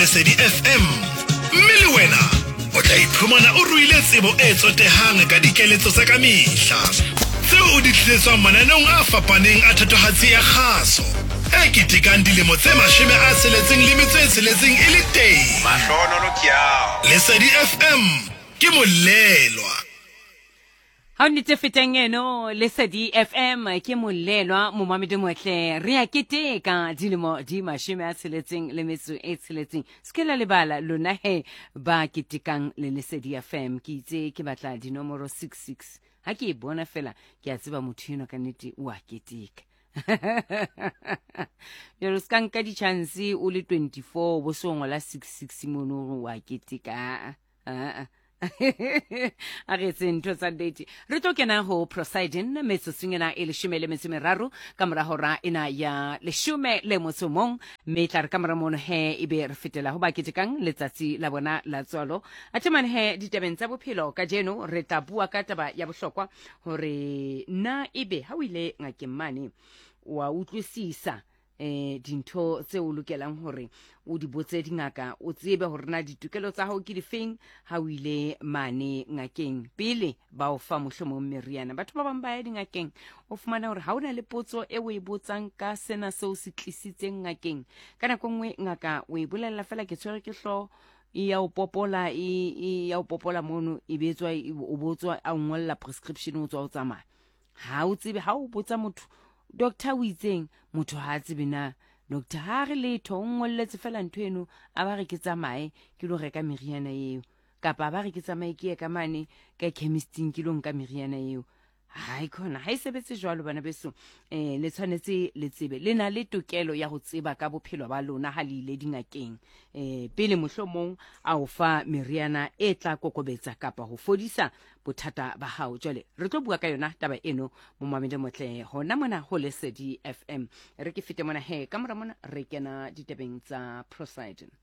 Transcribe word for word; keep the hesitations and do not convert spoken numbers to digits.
Lesedi F M, mme le wena o tla iphumana o ruile tsebo e tsotehang ka dikeletso tsa ka mehla tseo o di tlisetswang mananeong a fapaneng a thatohatsi ya kgaso e ketekang dilemo tse mashome a tsheletseng le metso e tsheletseng e le teng. Mahlohonolo ke ao. Lesedi F M ke molelwa. Ha o nnete fetang eno Lesedi F M ke molelwa momamedi motle re a keteka dilemo di mashome a tsheletseng le metso e tsheletseng. Se ke la lebala lona he ba ketekang le Lesedi F M. Ke itse ke batla dinomoro six six. Ha ke e bona fela ke a tseba motho enwa ka nnete o a keteka. Jwale o ska nka di-chance o le twenty-four bo so ngola six six mono hore o a keteka. Ah, ah. A re etse ntho tsa nnete. Re tlo kena ho Prosiding metsotsong ena e leshome le metso e meraro ka mora hora ena ya leshome le motso mong, mme tla re ka mora mono he ebe re fetela ho ba ketekang letsatsi la bona la tswalo. Athe mane he ditabeng tsa bophelo kajeno re tla bua ka taba ya bohlokwa hore na ebe ha o ile ngakeng mane wa utlwisisa eh dintho tse o lokelang hore o di botse dingaka, o tsebe hore na ditokelo tsa hao ke difeng ha o ile mane ngakeng pele ba o fa mohlomong meriana. Batho ba bang ba ya dingakeng o fumana hore ha o na le potso e o e botsang ka sena seo se tlisitseng ngakeng, ka nako e nngwe ngaka o e bolella fela ke tshwere ke hlooho, e ya o popola, e, e ya o popola mono, e be tswa, e, o botswa, a o ngolla prescription, o tswa o tsamaya. Ha o tsebe, ha o botsa motho doctor o itseng, motho ha a tsebe na doctor ha re letho, o ngolletse fela ntho eno, a ba re ke tsamaye ke lo reka meriana eo, kapa ba re ke tsamaye ke ye ka mane ka chemisting ke lo nka meriana eo. Hai khona ha e sebetse jwalo bana beso. Eh le tshwanetse le tsebe, le na le tokelo ya ho tseba ka bophelo ba lona ha le ile dingakeng. Eh pele mohlomong a o fa meriana e tla kokobetsa kapa ho fodisa bothata ba hao. Jwale re tlo bua ka yona taba eno momamedi motle hona mona ho Lesedi F M. Re ke fete mona he ka mora mona re kena ditabeng tsa Prosiding.